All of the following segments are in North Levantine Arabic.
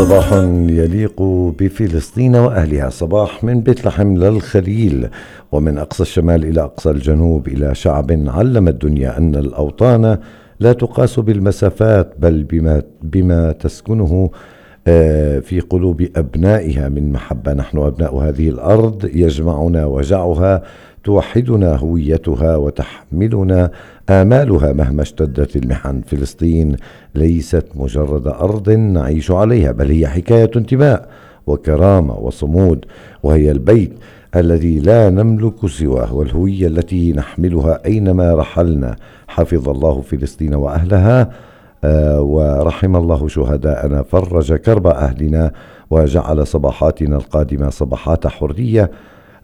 صباح يليق بفلسطين وأهلها، صباح من بيت لحم للخليل، ومن أقصى الشمال إلى أقصى الجنوب، إلى شعب علم الدنيا أن الأوطان لا تقاس بالمسافات بل بما تسكنه في قلوب أبنائها من محبة. نحن أبناء هذه الأرض، يجمعنا وجعها، توحدنا هويتها وتحملنا آمالها مهما اشتدت المحن. فلسطين ليست مجرد أرض نعيش عليها، بل هي حكاية انتماء وكرامة وصمود، وهي البيت الذي لا نملك سواه، والهوية التي نحملها أينما رحلنا. حفظ الله فلسطين وأهلها، ورحم الله شهداءنا، فرج كرب أهلنا، وجعل صباحاتنا القادمة صباحات حرية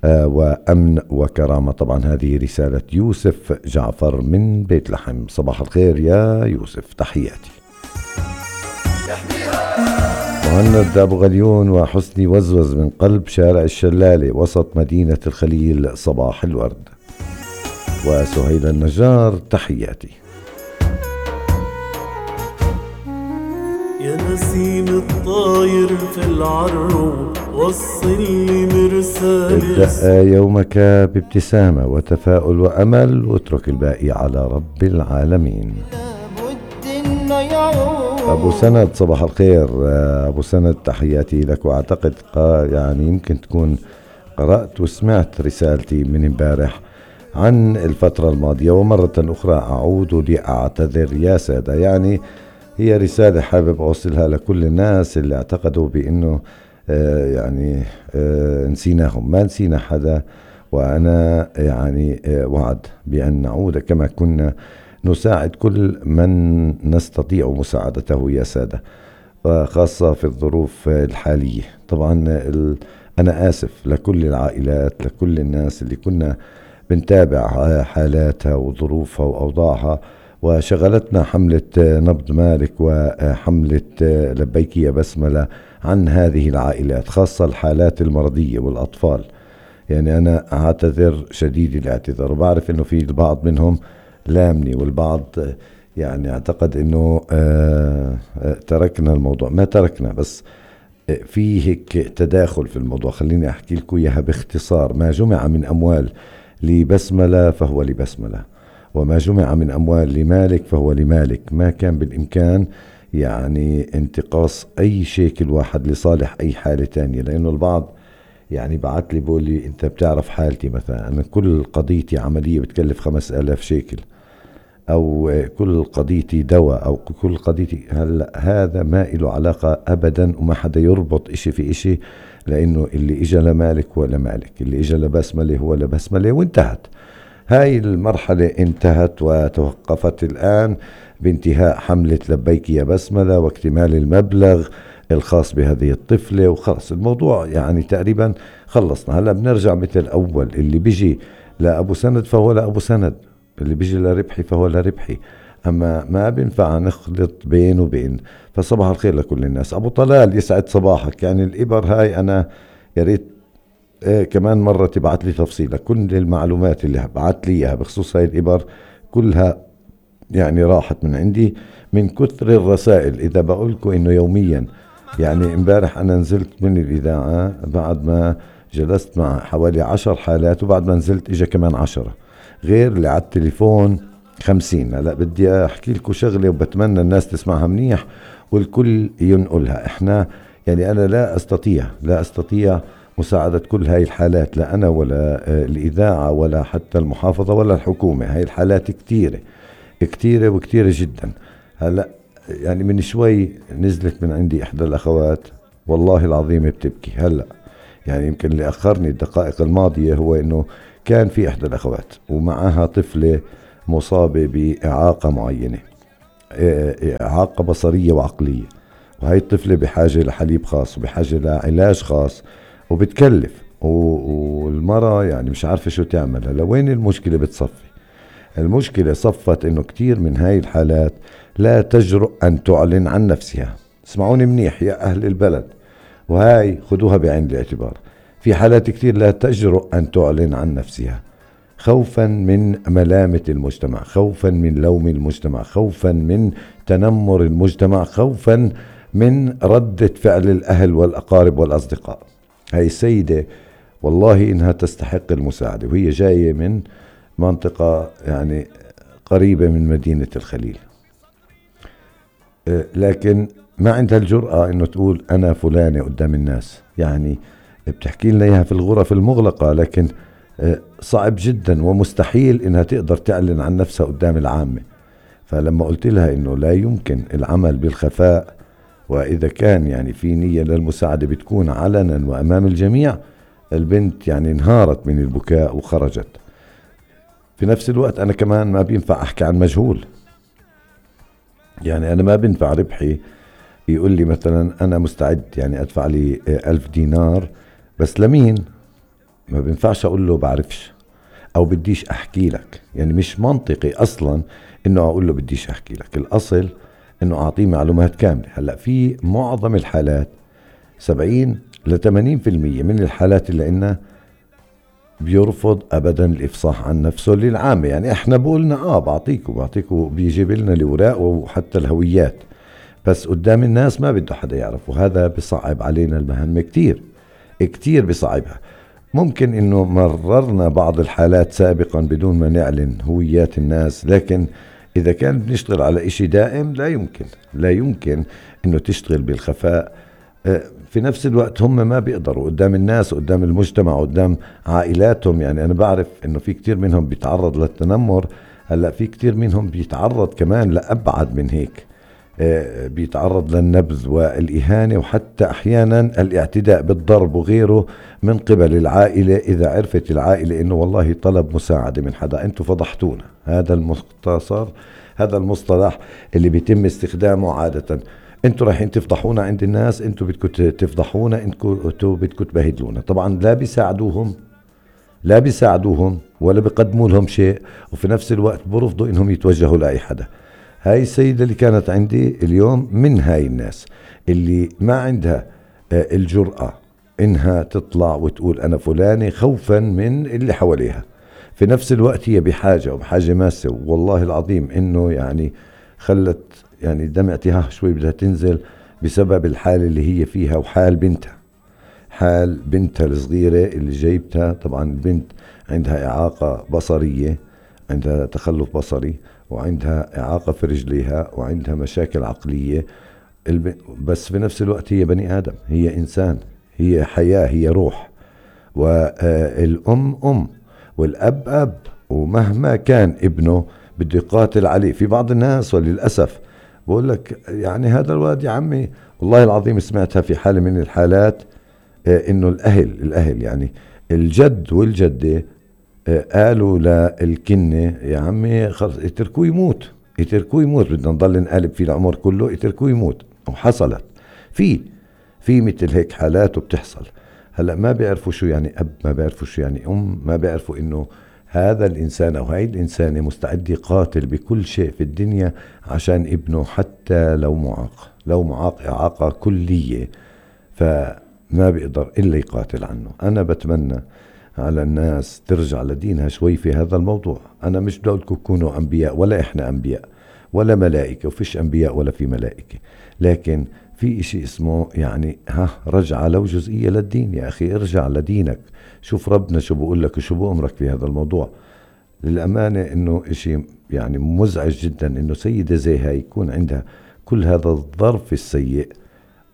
وأمن وكرامة. طبعا هذه رسالة يوسف جعفر من بيت لحم. صباح الخير يا يوسف، تحياتي. مهند أبو غليون وحسني وزوز من قلب شارع الشلالة وسط مدينة الخليل، صباح الورد. وسهيل النجار، تحياتي. يا نسيم الطاير في العرو وصلي مرسال، ابدأ يومك بابتسامة وتفاؤل وأمل، واترك الباقي على رب العالمين. أبو سند، صباح الخير أبو سند، تحياتي لك. وأعتقد يعني يمكن تكون قرأت وسمعت رسالتي من امبارح عن الفترة الماضية، ومرة أخرى أعود لأعتذر يا سادة. يعني هي رسالة حابب أوصلها لكل الناس اللي اعتقدوا بأنه نسيناهم. ما نسينا حدا، وأنا يعني وعد بأن نعود كما كنا نساعد كل من نستطيع مساعدته يا سادة، وخاصة في الظروف الحالية. طبعا أنا آسف لكل العائلات، لكل الناس اللي كنا بنتابع حالاتها وظروفها وأوضاعها، وشغلتنا حملة نبض مالك وحملة لبيك يا بسملة عن هذه العائلات، خاصة الحالات المرضية والأطفال. يعني أنا أعتذر شديد الاعتذار، وبعرف أنه في البعض منهم لامني، والبعض يعني اعتقد أنه تركنا الموضوع. ما تركنا، بس في هيك تداخل في الموضوع. خليني أحكي لكم إياها باختصار. ما جمع من أموال لبسملة فهو لبسملة، وما جمع من أموال لمالك فهو لمالك. ما كان بالإمكان يعني انتقاص أي شيكل واحد لصالح أي حالة تانية، لأنه البعض يعني بعت لي بقول لي أنت بتعرف حالتي مثلا، أنا كل قضيتي عملية بتكلف 5000 شيكل، أو كل قضيتي دواء، أو كل قضيتي. هلا هذا ما له علاقة أبدا، وما حدا يربط إشي في إشي، لأنه اللي إجا لمالك هو لمالك، اللي إجا لبسملة هو لبسملة، وانتهت. هاي المرحلة انتهت وتوقفت الآن بانتهاء حملة لبيك يا بسملة واكتمال المبلغ الخاص بهذه الطفلة، وخلص الموضوع يعني تقريبا خلصنا. هلأ بنرجع مثل الأول، اللي بيجي لأبو سند فهو لأبو سند، اللي بيجي لربحي فهو لربحي، أما ما بينفع نخلط بين وبين. فصباح الخير لكل الناس. أبو طلال، يسعد صباحك. يعني الإبر هاي أنا يا ريت كمان مرة تبعت لي تفصيلة، كل المعلومات اللي بعت لي إياها بخصوص هاي الإبر كلها يعني راحت من عندي من كثر الرسائل. إذا بقولكم إنه يوميا، يعني امبارح أنا نزلت من الإذاعة بعد ما جلست مع حوالي 10 حالات، وبعد ما نزلت إجا كمان 10 غير اللي على التليفون 50. هلا بدي أحكي لكم شغلة وبتمنى الناس تسمعها منيح والكل ينقلها. إحنا يعني أنا لا أستطيع مساعدة كل هاي الحالات، لا أنا ولا الإذاعة ولا حتى المحافظة ولا الحكومة. هاي الحالات كتيرة وكتيرة جدا. هلأ يعني من شوي نزلت من عندي إحدى الأخوات، والله العظيم بتبكي. هلأ يعني يمكن اللي أخرني الدقائق الماضية هو إنه كان في إحدى الأخوات ومعها طفلة مصابة بإعاقة معينة، إعاقة بصرية وعقلية، وهي الطفلة بحاجة لحليب خاص وبحاجة لعلاج خاص وبتكلف، والمرة يعني مش عارفة شو تعمل. لوين المشكلة بتصفي؟ المشكلة صفت إنه كتير من هاي الحالات لا تجرؤ أن تعلن عن نفسها. اسمعوني منيح يا أهل البلد، وهاي خدوها بعين الاعتبار. في حالات كتير لا تجرؤ أن تعلن عن نفسها، خوفا من ملامة المجتمع، خوفا من لوم المجتمع، خوفا من تنمر المجتمع، خوفا من ردة فعل الأهل والأقارب والأصدقاء. هاي السيدة والله إنها تستحق المساعدة، وهي جاية من منطقة يعني قريبة من مدينة الخليل، لكن ما عندها الجرأة إنه تقول أنا فلانة قدام الناس. يعني بتحكي لنا إياها في الغرف المغلقة، لكن صعب جدا ومستحيل إنها تقدر تعلن عن نفسها قدام العامة. فلما قلت لها إنه لا يمكن العمل بالخفاء، وإذا كان يعني في نية للمساعدة بتكون علنا وأمام الجميع، البنت يعني انهارت من البكاء وخرجت. في نفس الوقت أنا كمان ما بينفع أحكي عن مجهول، يعني أنا ما بينفع ربحي يقول لي مثلا أنا مستعد يعني أدفع لي 1000 دينار، بس لمين؟ ما بينفعش أقول له بعرفش أو بديش أحكي لك. يعني مش منطقي أصلا إنه أقول له بديش أحكي لك. الأصل إنه أعطيه معلومات كاملة. هلأ في معظم الحالات 70 ل 80% من الحالات اللي إنه بيرفض أبدا الإفصاح عن نفسه للعامة. يعني إحنا بقولنا بعطيكوا بيجيب لنا الأوراق وحتى الهويات، بس قدام الناس ما بده حدا يعرف، وهذا بصعب علينا المهمة كتير بصعبها. ممكن إنه مررنا بعض الحالات سابقا بدون ما نعلن هويات الناس، لكن إذا كان بنشتغل على إشي دائم لا يمكن إنه تشتغل بالخفاء. في نفس الوقت هم ما بيقدروا قدام الناس، قدام المجتمع، قدام عائلاتهم. يعني أنا بعرف إنه في كتير منهم بيتعرض للتنمر. هلأ في كتير منهم بيتعرض كمان لأبعد من هيك، بيتعرض للنبذ والإهانة، وحتى أحيانا الاعتداء بالضرب وغيره من قبل العائلة. إذا عرفت العائلة إنه والله طلب مساعدة من حدا، أنتوا فضحتونا. هذا المصطلح اللي بيتم استخدامه عادة. أنتوا رايحين تفضحونا عند الناس، أنتوا بدكم تفضحونا، أنتوا بدكم تبهدلونا. طبعا لا بيساعدوهم ولا بيقدموا لهم شيء، وفي نفس الوقت برفضوا إنهم يتوجهوا لأي حدا. هاي السيدة اللي كانت عندي اليوم من هاي الناس اللي ما عندها الجرأة إنها تطلع وتقول أنا فلانة، خوفا من اللي حواليها. في نفس الوقت هي بحاجة ماسة، والله العظيم إنه يعني خلت يعني دمعتها شوي بدها تنزل بسبب الحالة اللي هي فيها، وحال بنتها الصغيرة اللي جايبتها. طبعا البنت عندها إعاقة بصرية، عندها تخلف بصري، وعندها إعاقة في رجليها، وعندها مشاكل عقلية. بس في نفس الوقت هي بني آدم، هي إنسان، هي حياة، هي روح. والأم والأب أب، ومهما كان ابنه بده يقاتل عليه. في بعض الناس وللأسف بقول لك يعني هذا الواد يا عمي، والله العظيم سمعتها في حالة من الحالات، إنه الأهل يعني الجد والجدة قالوا للكنة يا عمي خلص اتركوه يموت، بدنا نضل نقلب في العمر كله، اتركوه يموت. وحصلت في مثل هيك حالات وبتحصل. هلأ ما بيعرفوا شو يعني أب، ما بيعرفوا شو يعني أم، ما بيعرفوا إنه هذا الإنسان أو هاي الإنسانة مستعد يقاتل بكل شيء في الدنيا عشان ابنه، حتى لو معاق إعاقة كلية، فما بيقدر إلا يقاتل عنه. أنا بتمنى على الناس ترجع لدينها شوي في هذا الموضوع. أنا مش بدي أقولكم كونوا أنبياء، ولا إحنا أنبياء ولا ملائكة، وفيش أنبياء ولا في ملائكة، لكن في إشي اسمه يعني رجع لو جزئية للدين. يا أخي ارجع لدينك، شوف ربنا شو بقول لك وشو بأمرك في هذا الموضوع. للأمانة إنه إشي يعني مزعج جدا إنه سيدة زي هاي يكون عندها كل هذا الظرف السيء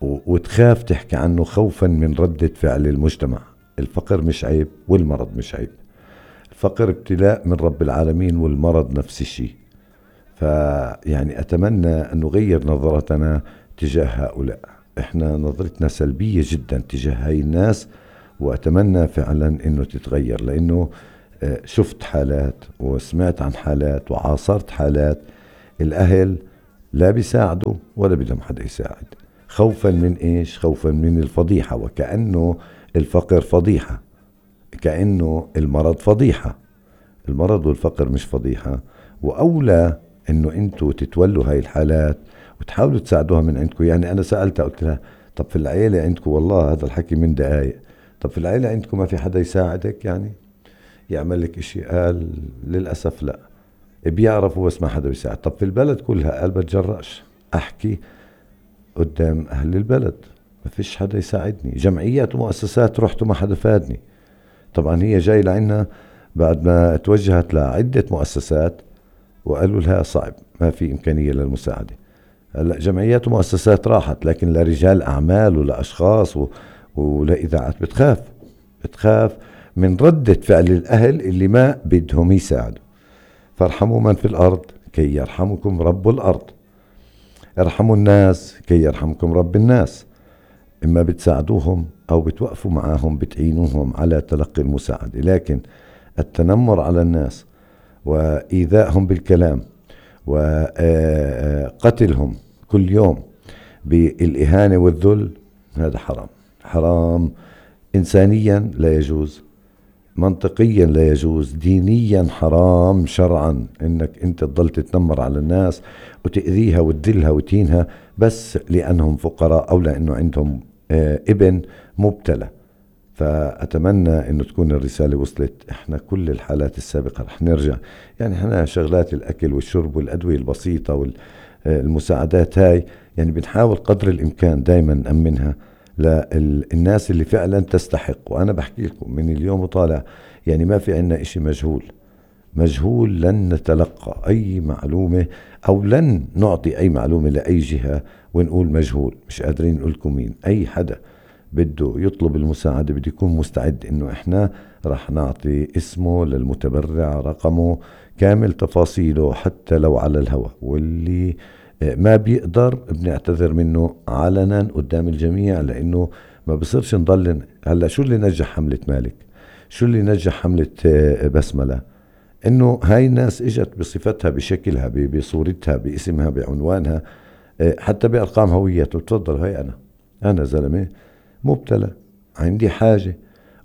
وتخاف تحكي عنه خوفا من ردة فعل المجتمع. الفقر مش عيب والمرض مش عيب. الفقر ابتلاء من رب العالمين، والمرض نفس الشيء. فيعني أتمنى أن نغير نظرتنا تجاه هؤلاء. إحنا نظرتنا سلبية جدا تجاه هاي الناس، وأتمنى فعلا أنه تتغير، لأنه شفت حالات وسمعت عن حالات وعاصرت حالات الأهل لا بيساعدوا ولا بدهم حدا يساعد، خوفا من إيش؟ خوفا من الفضيحة، وكأنه الفقر فضيحة، كأنه المرض فضيحة. المرض والفقر مش فضيحة، وأولى أنه أنتوا تتولوا هاي الحالات وتحاولوا تساعدوها من عندكم. يعني أنا سألتها قلت لها طب في العيلة عندكم، والله هذا الحكي من دقايق، طب في العيلة عندكم ما في حدا يساعدك يعني يعمل لك إشي؟ قال للأسف لا، بيعرفوا بس ما حدا بيساعد. طب في البلد كلها؟ قال بتجرأش أحكي قدام أهل البلد، ما فيش حدا يساعدني. جمعيات ومؤسسات رحت وما حدا فادني. طبعا هي جاي لعنا بعد ما توجهت لعدة مؤسسات وقالوا لها صعب، ما في إمكانية للمساعدة. هلا جمعيات ومؤسسات راحت، لكن لرجال أعمال ولأشخاص ولإذاعات بتخاف من ردة فعل الأهل اللي ما بدهم يساعدوا. فارحموا من في الأرض كي يرحمكم رب الأرض. ارحموا الناس كي يرحمكم رب الناس. إما بتساعدوهم أو بتوقفوا معاهم بتعينوهم على تلقي المساعدة، لكن التنمر على الناس وإيذائهم بالكلام وقتلهم كل يوم بالإهانة والذل، هذا حرام. حرام إنسانيا لا يجوز، منطقيا لا يجوز، دينيا حرام، شرعا انك انت تضل تتنمر على الناس وتأذيها وتذلها وتهينها بس لأنهم فقراء او لأنه عندهم ابن مبتلى. فأتمنى انه تكون الرسالة وصلت. احنا كل الحالات السابقة رح نرجع، يعني احنا شغلات الأكل والشرب والأدوية البسيطة والمساعدات هاي يعني بنحاول قدر الإمكان دايما نأمنها للناس اللي فعلا تستحق. وأنا بحكي لكم من اليوم وطالع يعني ما في عنا إشي مجهول. لن نتلقى أي معلومة أو لن نعطي أي معلومة لأي جهة ونقول مجهول، مش قادرين نقولكم مين. أي حدا بده يطلب المساعدة بده يكون مستعد إنه إحنا رح نعطي اسمه للمتبرع، رقمه كامل تفاصيله حتى لو على الهواء، واللي ما بيقدر بنعتذر منه علنا قدام الجميع، لأنه ما بصيرش نضل. هلا شو اللي نجح حملة مالك؟ شو اللي نجح حملة بسملة؟ إنه هاي الناس إجت بصفتها بشكلها بصورتها باسمها بعنوانها حتى بأرقام هويته. تفضل هاي أنا زلمة مبتلى عندي حاجة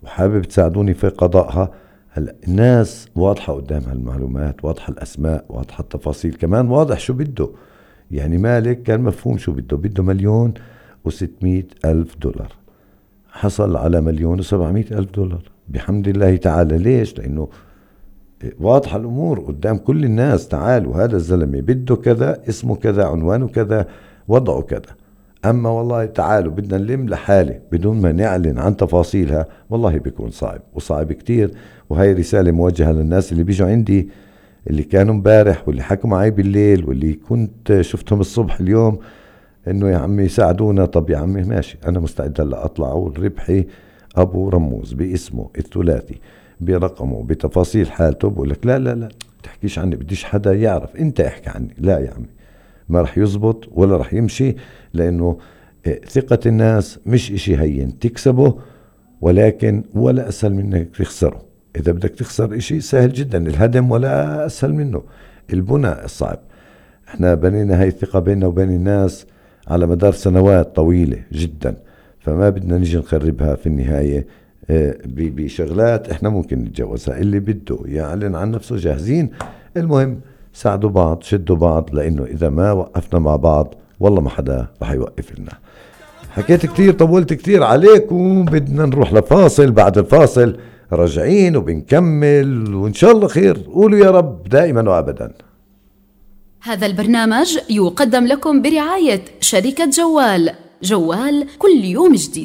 وحابب تساعدوني في قضائها. هلا الناس واضحة قدامها المعلومات، واضحة الأسماء، واضحة التفاصيل، كمان واضح شو بده. يعني مالك كان مفهوم شو بده $1,600,000، حصل على $1,700,000 بحمد الله تعالى. ليش؟ لأنه واضحة الأمور قدام كل الناس. تعالوا هذا الزلمة بده كذا، اسمه كذا، عنوانه كذا، وضعه كذا. أما والله تعالوا بدنا نلم لحالة بدون ما نعلن عن تفاصيلها، والله بيكون صعب وصعب كتير. وهي رسالة موجهة للناس اللي بيجوا عندي، اللي كانوا مبارح واللي حكوا معي بالليل واللي كنت شفتهم الصبح اليوم، انه يا عمي ساعدونا. طب يا عمي ماشي، انا مستعد هلا اطلع اقول ربحي ابو رموز باسمه الثلاثي برقمه بتفاصيل حالته. بقول لك لا تحكيش عني، بديش حدا يعرف، انت احكي عني. لا يا عمي، ما رح يزبط ولا رح يمشي، لانه ثقة الناس مش اشي هين تكسبه، ولكن ولا اسهل من انك تخسره. إذا بدك تخسر إشي سهل جدا، الهدم ولا أسهل منه، البناء الصعب. احنا بنينا هاي الثقة بيننا وبين الناس على مدار سنوات طويلة جدا، فما بدنا نيجي نخربها في النهاية بشغلات احنا ممكن نتجوزها. اللي بده يعلن عن نفسه جاهزين. المهم ساعدوا بعض، شدوا بعض، لأنه إذا ما وقفنا مع بعض والله ما حدا رح يوقف لنا. حكيت كتير، طولت كتير عليكم، بدنا نروح لفاصل. بعد الفاصل راجعين وبنكمل وإن شاء الله خير. قولوا يا رب دائما وأبدا. هذا البرنامج يقدم لكم برعاية شركة جوال كل يوم جديد.